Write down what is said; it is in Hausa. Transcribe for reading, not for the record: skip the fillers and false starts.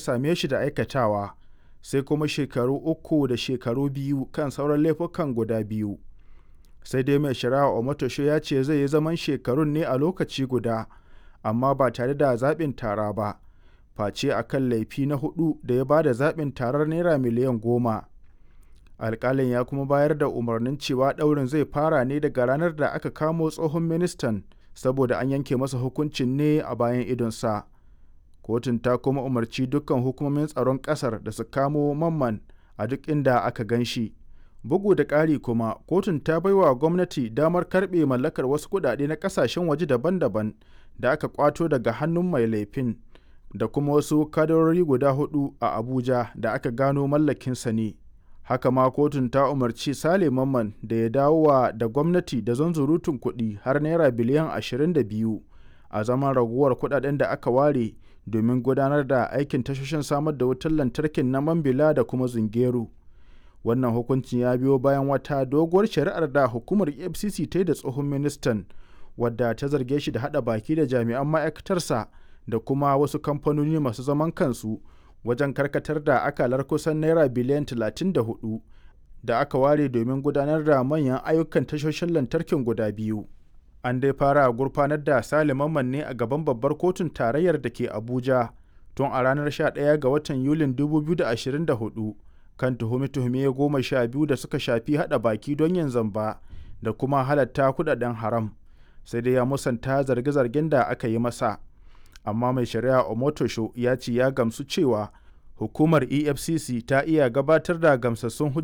same shi da aikatawa, sai kuma shekaru 3 da shekaru 2 kan sauran laifukan guda biyu. Sai dai mai shari'a Omotosho ya ce zai yi zaman shekarun ne a lokaci guda, amma ba tare da zaɓin tara ba, face a kan laifi na huɗu da ya ba da zaɓin tarar Naira miliyan 10. Alƙalin ya kuma bayar da umarnin cewa ɗaurin zai fara ne daga ranar da aka kamo tsohon ministan saboda an yanke masa hukuncin ne a bayan idonsa. Kotun ta kuma umarci dukkan hukumomin tsaron ƙasar da su kamo Mamman a duk inda aka gan shi. Bugu da ƙari kuma, kotun ta baiwa gwamnati damar karɓe mallakar wasu kuɗaɗe na ƙasashen waje daban-daban da aka ƙwato daga hannun mai laifin da kuma wasu kadarori guda huɗu a Abuja da aka gano mallakinsa ne. Haka ma kotun ta umarci Sale Mamman da ya dawowa da gwamnati da zunzurutun kuɗi har Naira biliyan 22 a zaman raguwar kuɗaɗen da aka ware domin gudanar da aikin tashoshin samar da wutar lantarkin na Mambila da kuma Zungeru. Wannan hukuncin ya biyo bayan wata doguwar shari'ar da hukumar EFCC ta yi da tsohon ministan, wadda ta zarge shi da haɗa baki da jami'an ma'aikatarsa da kuma wasu kamfanoni masu zaman kansu wajen karkatar da akalar kusan Naira biliyan 34 da aka ware domin gudanar da manyan ayyukan tashoshin lantarkin guda biyu. An dai fara gurfanar da Sale Mamman ne a gaban Babbar Kotun Tarayyar da ke Abuja tun a ranar 11 ga watan Yulin 2024 kan tuhume-tuhume 12 da suka shafi haɗa baki don yin zamba da kuma halatta kuɗaɗen haram, sai dai ya musanta zarge-zargen da aka yi masa. Amma mai shari'a Omotosho ya ce ya gamsu cewa hukumar EFCC ta iya gabatar da gamsassun hujjoji.